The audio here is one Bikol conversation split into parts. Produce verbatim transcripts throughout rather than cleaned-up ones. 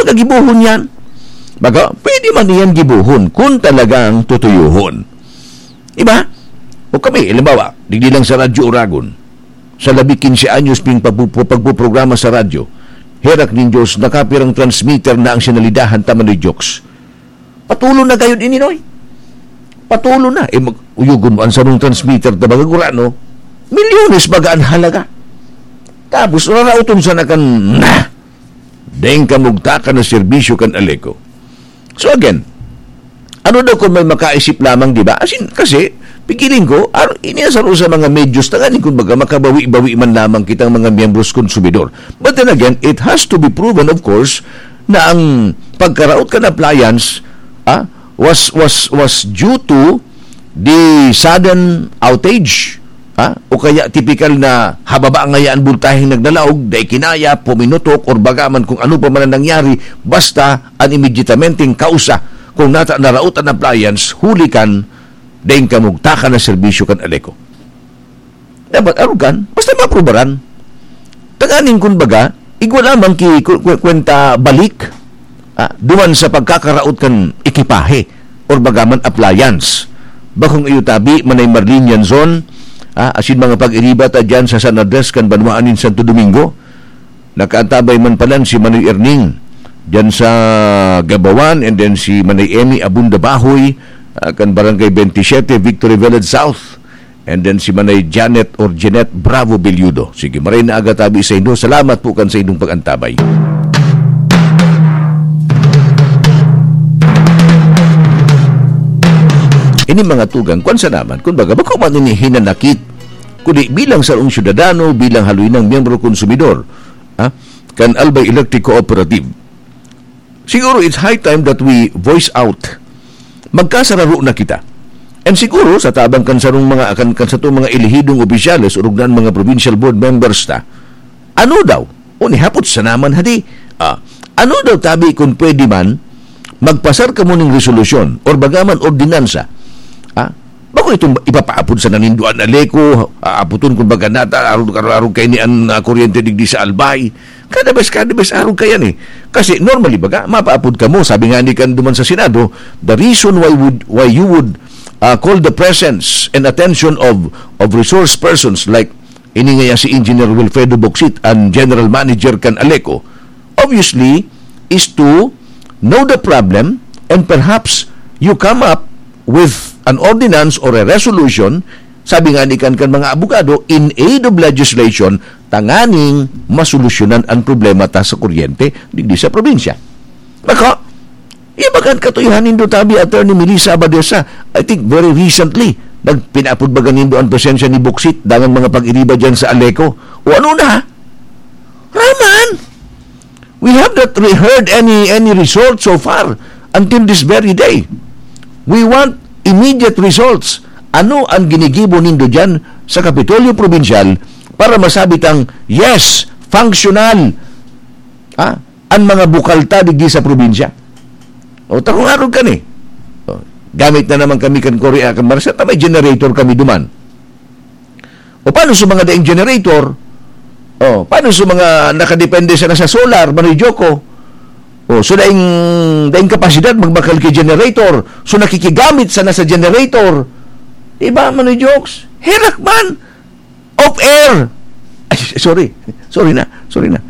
Gagibohon yan. Baga, pwede man iyan gibohon kung talagang tutuyohon. Diba? O kami, halimbawa, digdi lang sa Radyo Oragon, sa labi quince anyos ping pagpu-, pagpuprograma sa radyo, herak nin Diyos, nakapirang transmitter na ang sinalidahan ta, Manoy Jokes. Patulo na gayod ini, Noy. Patulo na. Eh, mag-, uyugon mo, ang sarong transmitter na baga gurano, milyones baga ang halaga. Tapos, raraoton sa nakan, na, deng kamugtakan na serbisyo kan Aleco. So again, ano daw kung may makaisip lamang, di ba? As in, kasi, pigiling ko, ar-, ini ang saro sa mga medios, tanganing kung baga, makabawi-bawi man lamang kitang mga miyembros konsumidor. But then again, it has to be proven, of course, na ang pagkaraot kan appliance, ah, was, was, was due to the sudden outage, ha? O kaya tipikal na hababa ngaya an boltaheng nagdalaog, dai kinaya, puminutok, or baga man kung ano pa man ang nangyari, basta an immediatamenteng kausa kung nata naraot an appliance huli kan daing kamugtakan na serbisyo kan Aleco. Dapat arugan, basta maaprubaran. Tanganing kun baga, igwa lamang ki ku-, ku-, kwenta balik, ah, duman sa pagkakaraot kan ekipahe or baga man appliance. Bakong iyo tabi, Manay Marlene Yanzon, ah, asin mga pag-iriba ta dyan sa San Andres kan banwaan nin Santo Domingo. Nakaantabay man palan si Manoy Erning dyan sa Gabawan, and then si Manay Emmy Abunda Bahoy, ah, kan Barangay twenty-seven, Victory Village South. And then si Manay Janet or Jeanette Bravo Belludo. Sige, maray na aga tabi sa inyo. Salamat po kan sa inyong pag-antabay. Ini mga tugang, kwan sa naman, kung baga, bako man ini hinanakit, kundi bilang sarong syudadano, bilang haloy ng miyembro konsumidor, ha? Kan Albay Electric Cooperative. Siguro it's high time that we voice out. Magkasararo na kita. And siguro, sa tabang kan sarong mga, kan, kan satong mga elehidong opisyales, orog na an mga provincial board members ta, ano daw? O nihapot sa naman hadi, ah, ano daw tabi kung pwede man, magpasar kamo ning resolusyon or baga man ordinansa? Ah, bako itong ipapaapod sa nanindoan na Aleco, aapoton kung baga nata, arog, arog, arog kay ni an, ah, kuryente digdi sa Albay. Kada bes, kada bes, arog kaya ni. Kasi normally, baga, mapaapod kamo. Sabi nga ni kan duman sa Senado, the reason why would, why you would, ah, call the presence and attention of, of resource persons like ini ngaya si Engineer Wilfredo Bocsit, ang general manager kan Aleco, obviously, is to know the problem and perhaps you come up with an ordinance or a resolution, sabi nga ni kan, kan mga abogado, in aid of legislation, tanganing masolusyonan ang problema ta sa kuryente digdi sa probinsya. Bako, ibagan katuyahan nindo tabi, Attorney Melissa Abadesa, I think very recently, nagpinapod baga nindo ang presensya ni Bocsit, dangan mga pag-iriba dyan sa Aleco. O ano na? Raman! We have not re-, heard any, any result so far until this very day. We want immediate results. Ano ang ginigibo nindo dyan sa Kapitolyo Probinsyal para masabi tang, yes, functional, ha, an mga bukal ta digdi sa probinsya? O, takong arog ka ni. O, gamit na naman kami kan Korea, kan Marsa, ta may generator kami duman. O, paano sa mga daing generator? O, paano sa mga nakadepende sana sa solar, Manoy Joko? O, so daing, daing kapasidad magbakal ki generator. So, nakikigamit sana sa generator. Diba, Manoy Jokes? Herak man! Off air! Ay, sorry. Sorry na. Sorry na.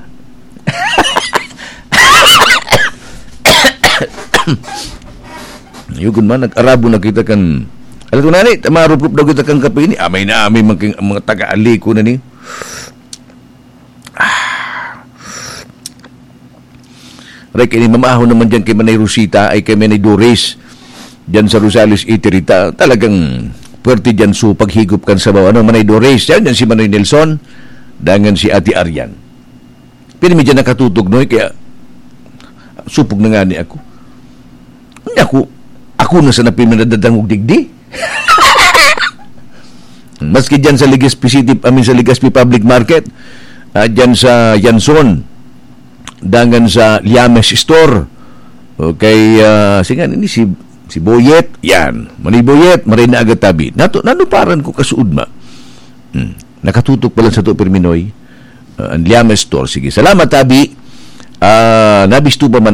Yugon man, nag-arabo na kita kan, alam ko na ni, maruprop daw kita kan kape ni. Amay na amay, mga, mga taga-Aleco na ni. Ah. Aray, kini mamahaw naman dyan kay Manay Rosita, ay kay Manay Doris. Dyan sa Rosales, Iterita, talagang pwerte dyan so paghigop kan sabaw. Ano, Manay Doris, yan, yan si Manoy Nelson, dangan si Ate Arian. Pero medyo nakatutog, no? Kaya, supog na nga ni ako. Hindi ako, ako na sa napinadadangog digdi. Maski dyan sa Legazpi City, I mean, sa Legazpi Public Market, ah, dyan sa Yanson, dangan sa Liames Store. Okay, ah, sige, ini si, si Boyet, yan. Manoy Boyet, maray na agad tabi. Nato, nanuparan ko kasuod ma. Hmm. Nakatutok pala sa to, Perminoy. Ah, ang Liames Store. Sige, salamat, tabi. Ah, nabisto pa man